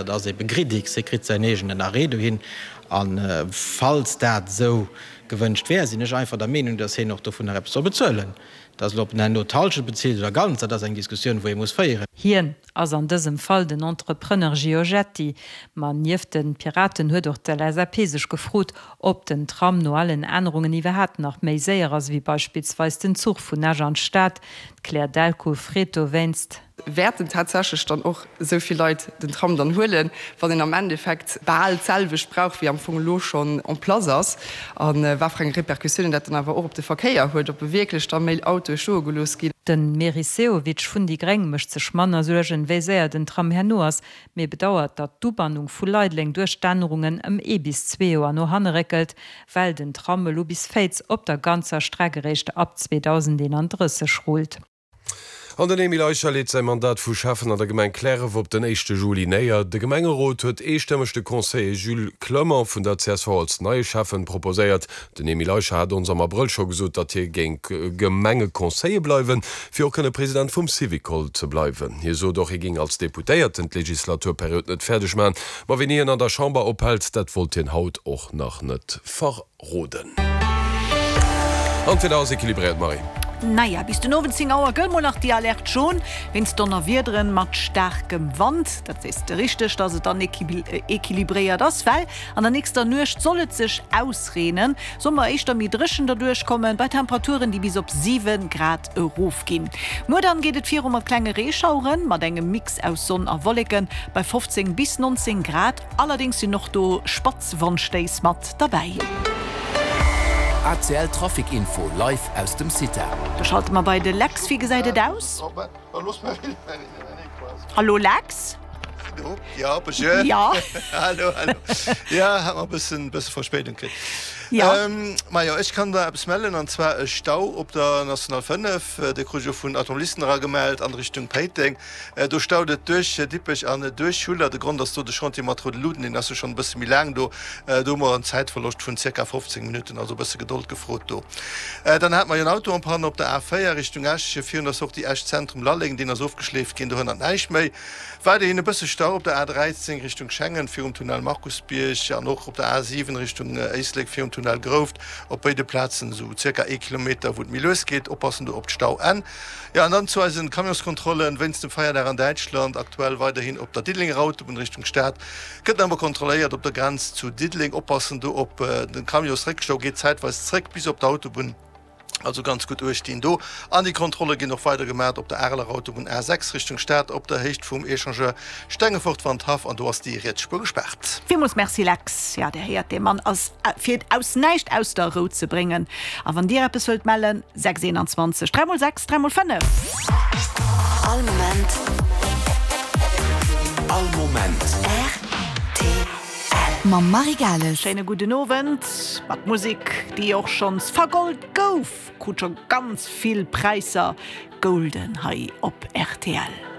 Dat ass ebe Gridix, hie kritt säin eegenen Arrêt dohin. A falls dat esou gewënscht wär, sinn ech einfach der Meenung, datt hien och dovunner eppes soll bezuelen. Datt elo, ob en herno d'Halschent bezilt oder ganz, dat ass eng Diskussioun, wou ee muss féieren. Hien ass an dësem Fall den Entrepreneur Giorgetti. Ma nieft de Piraten huet och d'LSAP sech gefrot, ob den Tram no allen Ännerungen iwwerhaapt nach méi séier ass ewéi beispillsweis den Zuch vun Esch an d'Stad. D'Claire Delcourt freet dowéinst. Wäerten tatsächlech dann och esou vill Leit den Tram dann huelen, wann een am Endeffekt bal d'selwecht brauch, wéi am Fong elo schonn en place ass? A wat fir eng Repercussiounen dat dann awer och op de Verkéier huet, ob wierklech da méi Autoe stoe gelooss ginn. De Meris Sehovic vun déi Gréng mécht sech manner Suergen, wéi séier den Tram herno ass, mee bedauert, datt d'Ubannung vu Leideleng duerch d'Ännerungen ëm ee bis zwee Joer no hanne réckelt, well den Tram elo bis Féiz op der ganzer Streck eréischt ab 2031 rullt. An den Emile Eicher leet säi Mandat vu Schäffen an der Gemeng Cliärref op den éischte Juli néier. De Gemengerot huet eestëmmeg de Conseiller Jules Clement vun der csv als neie Schäffen proposéiert. Den Emile Eicher hat ons am Abrëll scho gesot, datt hie géing Gemengeconseiller bleiwen, fir och kënne President vum Syvicol ze bleiwen. Hie sot och, hie géing als Deputéierten d'Legislaturperiod net fäerdeg maachen. Ma wéini hien an der Chamber ophält, dat wollt hien haut och nach net verroden. Roden. An d'Wieder ass equilibréiert, Marie. Naja, bis den Owend 10 Auer gëllt mol nach déi Alerte jaune wéinst Donnerwiederen mat staarkem Wand. Dat sees de richteg, dass et dann equilibréiert ass, well an der nächster Nuecht soll et sech ausreenen, soll mer éischter méi dréchen derduerch kommen, bei Temperaturen, déi bis op 7 Grad erofginn. Muer dann geet et viru mat klenge Reeschaueren, mat engem Mix aus Sonn a Wolleken bei 15 bis 19 Grad. Allerdéngs sinn och do spatz Wandstéiss mat derbäi. ACL Trafic Info live aus dem CITA. Do schalte mer bei de Lex. Wéi gesäit et aus? Hallo Lex? Ja, bonjour. Ja. Hallo, hallo. Ja, hat mer e bëssen, bësse Verspéidung kritt. Ja. Ähm, majo, ech kann der eppes mellen, an zwar e Stau op der National 5, dee krut ech och vun Automobilisten era gemellt, an Richtung Péiteng. Do staut et duerch Dippech an duerch Schuller. De Grond ass do de Chantier mat roude Luuten, deen ass jo schonn e bësse méi laang do. Do hu mer en Zäitverloscht vun zirka 15 Minutten, also e bësse Gedold gefrot do. Dann hate mer jo en Auto en panne op der A4 Richtung Esch, virun der Sortie Esch Zentrum Lalleng. Deen ass ofgeschleeft ginn, do hënnert näischt méi. Weiderhin e bësse Stau op der A13 Richtung Schengen virum Tunnel Markusbierg an och op der A7 Richtung Éislek virum Tunnel Grouft. Op béide Plazen esou zirka ee Kilometer, wou et méi lues geet. Oppassen do op d'Stauenn. Jo, an dann zu eisen Camionskontrollen wéinst dem Feierdag an Däitschland, aktuell weiderhin op der Diddelenger Autobunn Richtung Stad, gëtt nach emol kontrolléiert op der Grenz zu Diddeleng. Oppassen do op den Camionsréckstau, geet zäitweis zréck bis op d'Autobunn, also ganz gutt uecht dinn do. An déi Kontrolle ginn och weider gemat op der Areler Autobunn A6 Richtung Stad op der Héicht vum Echangeur Stengefort-Wandhaff, an do ass déi riets Spuer gespaart. Villmools Merci Lex. Jo, Dir héiert, dee Mann ass fir aus näischt aus der Rou ze bréngen. A wann Dir eppes wëllt mellen, 6 21 3 mol 6 3 mol 5. All Moment. All Moment. Rtl. Mam Marie Gales. Schéine gudden Owend mat Musek, déi och schonns vergold gouf. Krut scho ganz vill Präisser, Golden hei op rtl.